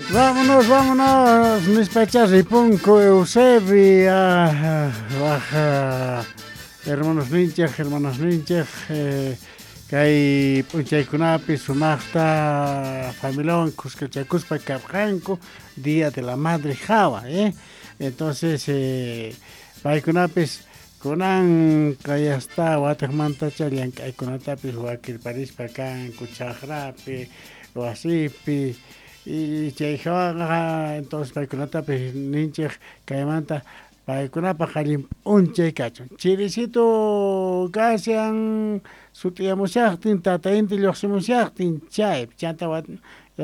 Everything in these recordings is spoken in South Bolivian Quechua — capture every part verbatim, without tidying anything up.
Vámonos, vámonos, nispacha ripunku Eusebi, ah, waj hermanos ninchej, hermanas ninchej, eh, kay p'unchaykunapi sumaqta familiawan kuskachakuspa karqanku Día de la Madre hawa, eh? Entonces, eh, paykunapis kunan kayasta watiqmantacha llank'aykunatapis wakirparispa kanku chaqrapi, wasipi, y chay hawaqa entonces paykunatapis ninchej kaymanta paykunapaq allin p'unchay kachun. Chirisitu kashan sut'iyamushaqtin tata inti lluqsimushaqtin chay chanta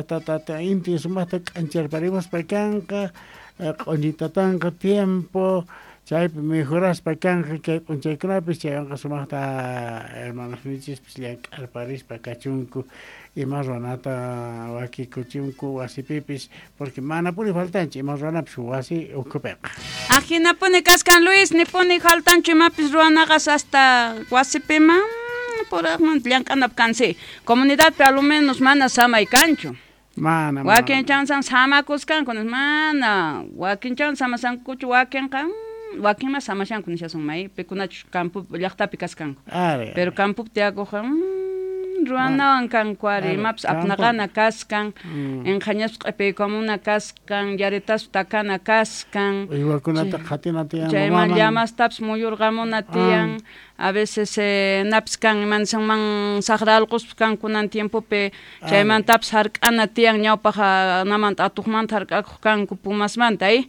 tata inti sumaqta k'ancharparimuspa kanqa q'uñitatanqa tiempo chaypi mejoraspa kanqa kay p'unchaykunapis chaywanqa sumaqta hermanosninchispis llank'arparispa kachunku ima ruwanata wakikuchunku wasipipis porque manapuni faltanchu ima ruwanapis wasi ukhupiqa. Ajinapuni kaskan Luis, nipuni faltanchu imapis ruwanaqas hasta wasipiman puraqmanta llank'anap kansi. Comunidadpi a lo menos mana samay kanchu. Mana, wakin chansan samakuskanku mana, wakin chan samasankuchu wakinqa wakin mas samashanku nishasun may pikunachus campo llaqtapi kaskanku. Pero campopi tiyakuqqa ruwanawan kanku ari imapis apnaqana kaskan, inqhañaspa q'ipiykamuna kaskan, yaritaspa takana kaskan, uywakunata qhatina tiyan, chayman llamastapis muyurqamuna tiyan. A veces eh, napis kan imansanman saqra allquspas kan kunan tiempopi chaymantapis hark'ana tiyan ñawpaq namanta atuqmanta hark'akuq kanku pumasmanta eh?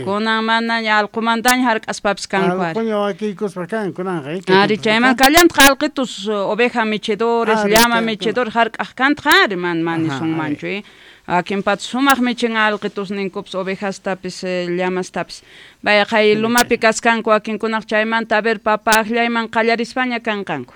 Kunan manaña allqumantaña hark'aspapis kanku ari. Allquña wakiykuspa kan kunanqa eh? Ari chayman kallantaq allqitus oveja michidores, llama michidores hark'aq kantaq ari man manisunmanchu eh? Wakinpata sumaq michin allqitusninkupis ovejastapis llamastapis. Vaya qay lumapi kaskanku wakinkunaq chaymanta a ver papa aqllayman qallarispaña kanqanku.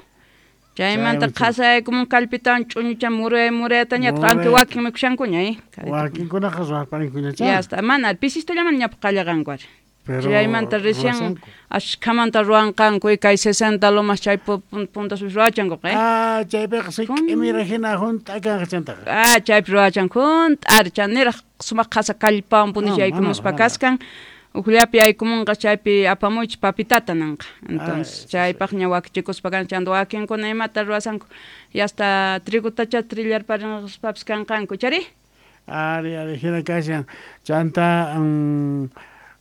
Chaymanta qhasaykumun kallpitawan ch'uñucha muray muraytañataq aunque wakin mikushankuña eh. Wakinkunaqa ruwarparinkuñacha. Ya está, mana pisistullaman ñapu qallaqanku ari. Chaymanta recién ashkhamanta ruwanqanku kay sesenta lomas chay puntas ruwachankuqa eh. Ah, chaypiqa sik'imira hina hunt'a kanqa chantaqa. Ah, chaypi ruwachanku hunt'a ari chaniraq sumaq qhasa kallpawan punish yaykumuspa kaskan. Ujllapi yaykumunqa chaypi apamuychis papitata nanqa. Entonces chaypaqña wakichikuspa kan chanta wakinkuna imata ruwasanku y hasta trigutacha trillarparinqaspapis kanqanku chari. Ari, ari hina kashan chanta um,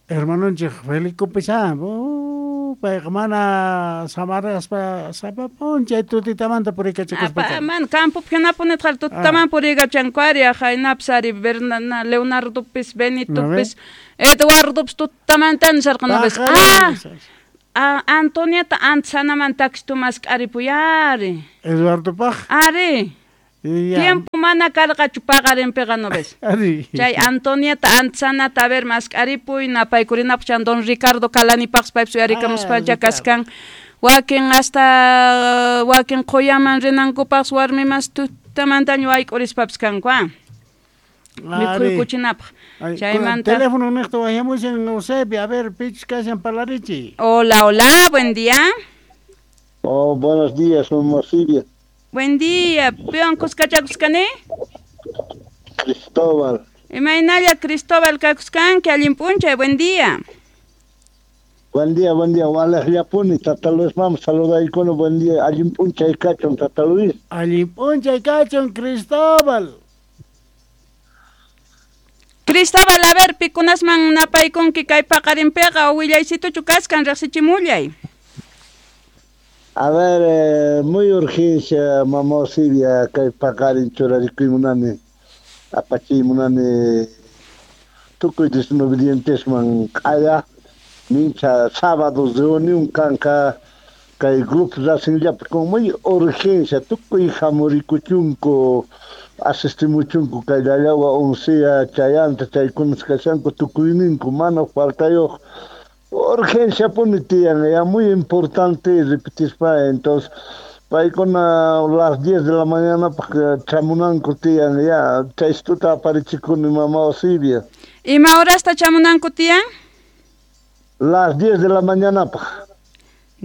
hermanonchik Felipe oh, payqa mana samaraspa sapa p'unchay tutitamanta puriykachakuspa. Man campopi hinapunitaq tutaman puriykachanku ari ahaynapis ari Bernardo Leonardopis Benitopis Eduardopis tutamanta nisharqa noves. Ah, ah, Antonieta antsanaman taxitu mask'aripuy ari. Eduardopaq. Ari. Tiempo mana karqachu paqarinpiqa no ves. Chay Antonieta antsanata a ver mask'aripuy napaykurinapaq chan don Ricardo Kalanipaqpas paypis uyarikamuspacha kaskan. Wakin hasta wakin quyaman rinankupaqpas warmimas tutamantaña wayk'urispapis kanku ah. Mikhuykuchinapaq. Chaymanta teléfono niqta wayamushan Eusebio, a ver pichus kashan parlarichi. Hola, hola, buen día. Oh, buenos días, Silvia. Buen día, piwan kuskachakuskani? Cristóbal. Imaynalla Cristóbal kakuskanki, allin p'unchay, buen día. Buen día, buen día, walejllapuni, Tata Luis, vamos saludaykuna, buen día, allin p'unchay kachun, Tata Luis. Allin p'unchay kachun, Cristóbal. Cristóbal, a ver, pikunasman napaykunki kay paqarinpiqa willaysituchu kaskan riqsichimullay. A ver, eh, muy urgencia, mamá Silvia, kay paqarin churarikuymunani, apachiymunani, tukuy desobedientesman q'aya, mincha sábado reunión kanqa kay grupo rasinllapi con muy urgencia, tukuy hamurikuchunku, asistimuchunku kay llallawa oncea chayanta chaykunas kashanku tukuyninku mana faltayuq. Urgencia pone tiyan, ya muy importante repetispa, entonces paykuna las diez de la mañana chamunanku tiyan, ya chaystuta aparichikuni mamá Osibia. Ima horasta chamunanku tiyan? Las diez de la mañana.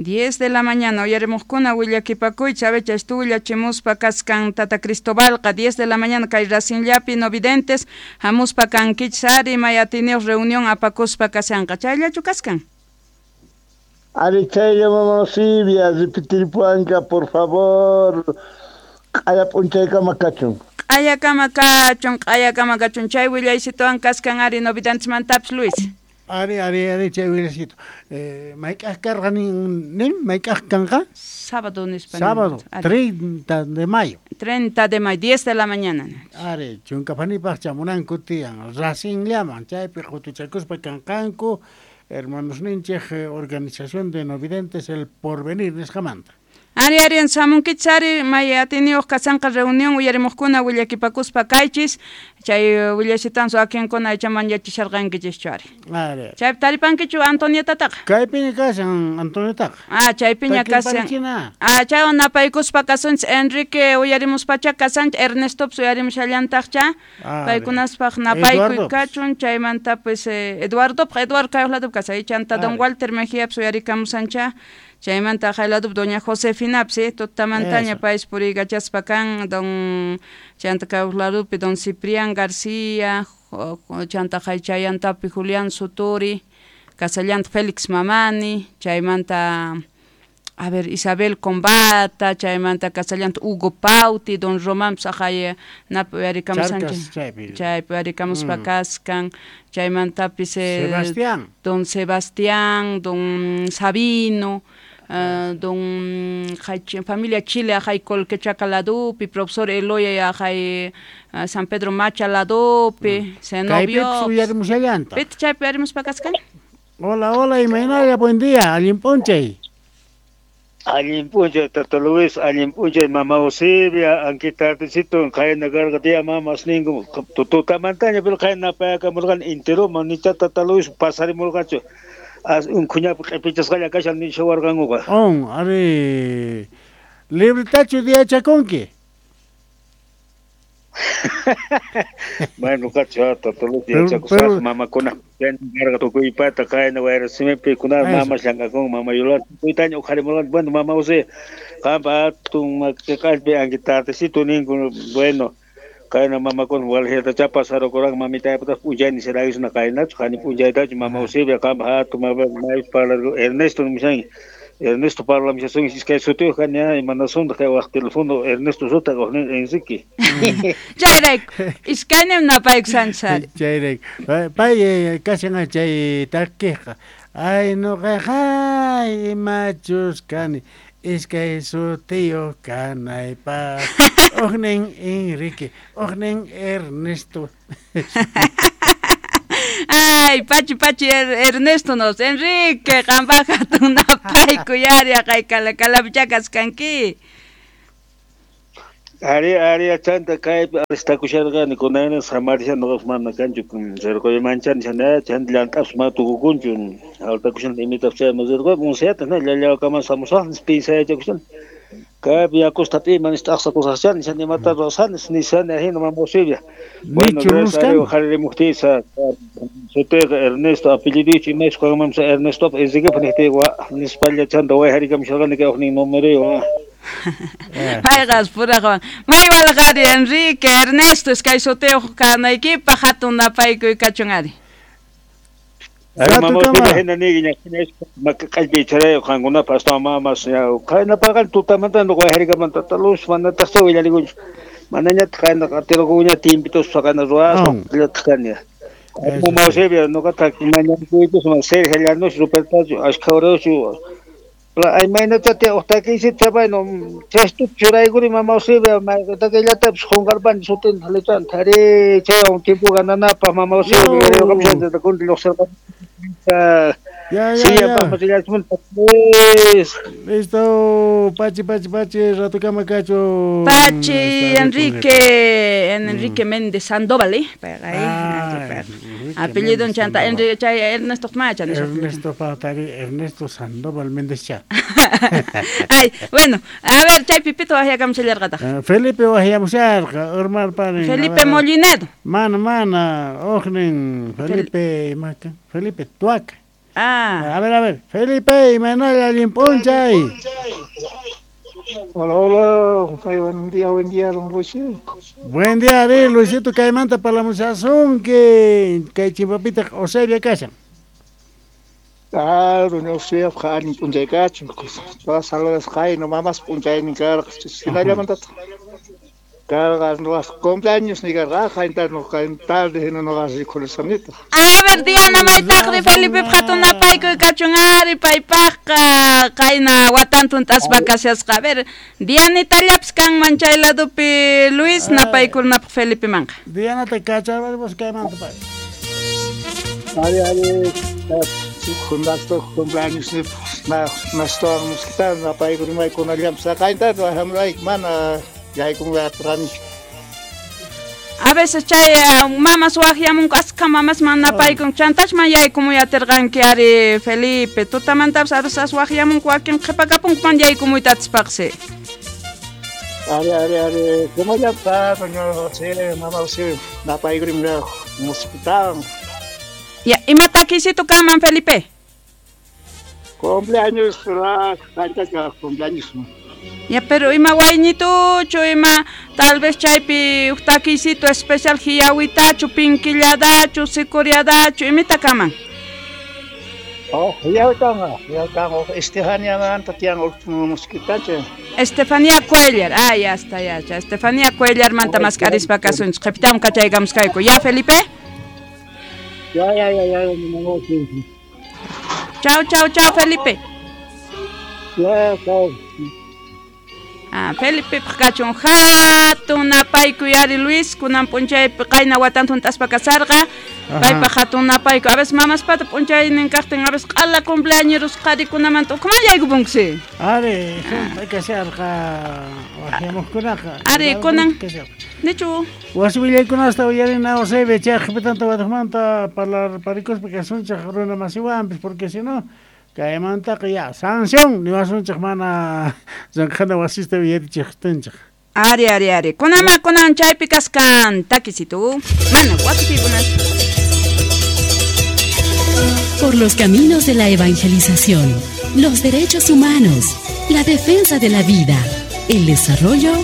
diez de la mañana uyarimuqkuna willakipakuychis abecha estuvillachimuspa kaskan Tata Cristobalqa diez de la mañana kay Racinllapi no videntes hamuspa kankichis ari may atiniyuq reunión apakuspa kashanqa chayllachu kaskan. Ari chaylla mama Silvia, repetirpuanka por favor. Q'aya p'unchaykama kachun. Q'ayakama kachun, q'ayakama kachun. Chay willaysituwan kaskan ari no videntesmantapis Luis. Ari, ari, ari, chay willaysitu. Eh, mayk'aj karqa nin, nin mayk'aj kanqa? Sábado nispa. Sábado, treinta de mayo. treinta de mayo, diez de la mañana. Ari, chunkapanipaq chamunanku tiyan, Racinllaman, chaypi qutuchakuspa kanqanku, hermanos ninchej, organización de no videntes El Porvenir nisqamanta. Ari, ari, samunkichis ari, may atiniyuq kasanqa reunión uyarimuqkuna willakipakuspa kaychis, chay willashitansu akinkuna ichaman yachisharqankichischu ari. Ari. Chaypi taripankichu Antonietataqa? Kaypiña kashan Antonietaqa. Ah, chaypiña kashan. Ah, chaywan napaykuspa kasunchis Enrique uyarimuspacha kasanchis, Ernestopas uyarimushallantaqcha. Paykunaspaq napaykuy kachun, chaymanta pues eh, Eduardopaq, Eduardo kay uqladupi kasan, chanta don Walter Mejiapas uyarikamusancha. Chaymanta hayladup doña Josefinapas, eh, tutamantaña payis puriykachaspa kan, don chanta kay don Ciprián García, chanta haychayantapi Julián Suturi, kasallanta Félix Mamani, chaymanta a ver Isabel Combata, chaymanta kasallanta Hugo Pauti, don Román aqhay napi uyarikamusanchik, chaypi uyarikamuspa kaskan, chaymantapis eh, Sebastián, don Sebastián, don Sabino, Uh, don familia Chile ajay Colquechaca ladupi, profesor Eloy ajay uh, San Pedro Macha ladupi, Zenobio. Pit chaypi uyarimuspa kaskan. Hola, hola, imaynalla, buen día, allin p'unchay. Allin p'unchay Tata Luis, allin p'unchay mama Eusebia, anki tardecito qayna karqa tía mamas ninku tutamantaña pero qayna payakamurqani enteroman nicha Tata Luis pasarimurqachu. As un kuñapi q'ipichasqalla kashan nishawarqankuqa. On, ari libretachu diachakunki. Bueno, kacha Tata Luis yachakusaq mamakuna karqa tukuypata qayna wayrasimipi kuna mamas llank'akun mama Yolanda tukuytaña uqharimurqani. Bueno, mama José, qampa hatun makiqallpi anki tardecito ninku, bueno, qayna mamakuna waljiyatacha pasarukurqan mamitaypataq p'unchayni sirayusna qaynachu qani p'unchaytachu mama Eusebia qampa hatun mayus parlarku Ernesto nimushanki. Ernesto parlamushasunki iskay sutiyuq kani imanasunta kay waq telefono Ernesto sutaq waqnin Enrique. Chayrayku iskaynim napaykusanchis ari. Chayrayku pay kashan chay takiqqa ay nuqaqa imachus kani iskay sutiyuq kanaypaq uqnin Enrique uqnin Ernesto. Ay, pachi pachi er, Ernesto nos Enrique qampaq hatun napaykuy ari aqhay kalakalapicha kaskanki. Ari ari chanta kaypi alistakusharqani kunayna samarishan nuqapas mana kanchu rirquymanchani manchani chanta llant'apas mana tukukunchu altakushan imitapis chayman rirquypi unsayata llallawakaman samusaq pinsayachakушani kaypi yakusta p'iman t'aqsakusaqchani nishan imata ruwasani nishani ahina mama Eusebia. Bueno, uqharirimuqtiysa sutiyqa Ernesto apelliduychu imaychus qanmanpas Ernestopa Enriquepa niqtiyqa nispalla chanta wayharikamusharqani kay uqnin numeruywan. Payqas puraqwan may walqari Enrique Ernesto iskay sutiyuq kanaykipaq hatun napaykuy kachun ari. Ari mama Eusebia hina niyki maqallpi charayuq qankunapas astawan mamas qaynapaqa tutamanta wayharikamanta Tata Luis manataqcha willarikunchu manañataq qayna qatirquña timpituspa qayna ruwaspa llataq kani. Mama Eusebia nuqataq mañankuypis Sergio Llanos Rupertachu ashkha urayuchu ay maynachá uq takiysita bueno chaystu churaykuni mama Eusebia mayqitaqillatapis qunqarpani sutinta letranta ari chaywan tiempo gananapaq mama Eusebia kunti lluqsirqani. Ya, ya, Sí, ya. Pues. Listo, Pachi, Pachi, Pachi, ratukama kachu. Pachi, Enrique, Enrique mm. Méndez Sandoval, ¿eh? Ah, apellido en chanta, Enrique, chay, Ernesto Macha. Ernesto Patari, Ernesto Sandoval Méndez Cha. Ay, bueno, a ver, chay Pipito wahiyakamshallarqataq. Felipe wahiyamusharqa, hermano padre. Felipe Molinedo. Mana, mana, ojnin, Felipe, Felipe Tuaca. Ah. A ver, a ver. Felipe, imaynalla allin p'unchay. Hola, hola, buen día, buen día, don Luis. Buen día, Ari, Luisito, kaymanta parlamushasunki, kay chimpapitaq Eusebia kashan. Ah, don Eusebia, allin p'unchay kachun, todas saludas qayna, mamas p'unchaynin karqa, hinallamantataq karqa nuqas cumpleaños ni karqa, qaynta nuqa tarde hina nuqa rikurisqanitaq. A ver, Diana, maytaqri Felipe hatun napaykuy kachun ari paypaqqa qayna watantun t'aspa kashasqa. A ver, Dianitallapis kanman chay ladopi Luis napaykunapaq Felipemanqa. Dianata kacharparipus kaymanta pay. Ari, ari, juntasto cumpleaños ni na nastuwan muskita napaykurimay kunallampas qaynta hamray mana yaykunqa. A veces chay mamas waqyamunku askha mamas man napaykun chantachman yaykumuy atirqanki ari Felipe tutamantapis a veces waqyamunku wakin qhipakapunku man yaykumuyta atispaqsi. Ari, ari, ari, kumallampa doña José, mama José, napaykurim muskitawan. Ya, ima takisito kanman Felipe? Cumpleaños, qayntacha cumpleaños. Ya, pero ima wayñituchu, ima tal vez chaypi huk takisito especial hiyawitachu, pinkilladachu, sikuriadachu, imita kaman? Oh, hiyawitanga, hiyawitanga, Estefaniamanta tiyan muskitacha. Estefanía Cuellar, ah, ya está, ya, ya, Estefanía Cuellar manta maskarispa kasunchik, qhipitam kachaykamuskayku. Ya, Felipe? Ya, ya, ya, ya, Chao, chao, chao, Felipe. Ya, chao. Ah, Felipe kachun hatun napaykuy ari Luis kunan p'unchaypi qayna watanta hunt'aspa kasarqa paypaq hatun napaykuy a veces mamaspata p'unchaynin kaqtin a veces q'ala cumpleañeros qharikunamanta ukhuman yaykupunkusi. Ari, hunt'a kasharqa waqyamuqkunaqa. Ari, kunan nichu wasi willaykunasta uyarina Eusebia chay qhipitanta watuqmanta parlarparikuspa kasunchik runa masiwanpis porque si no kaymantaqa ya sanción niwasunchik mana llanqhana wasista uyarichiqtinchik. Ari, ari, ari. Kunama kunan chaypi kaskan takisitu. Mana wakichikunas. Por los caminos de la evangelización, los derechos humanos, la defensa de la vida, el desarrollo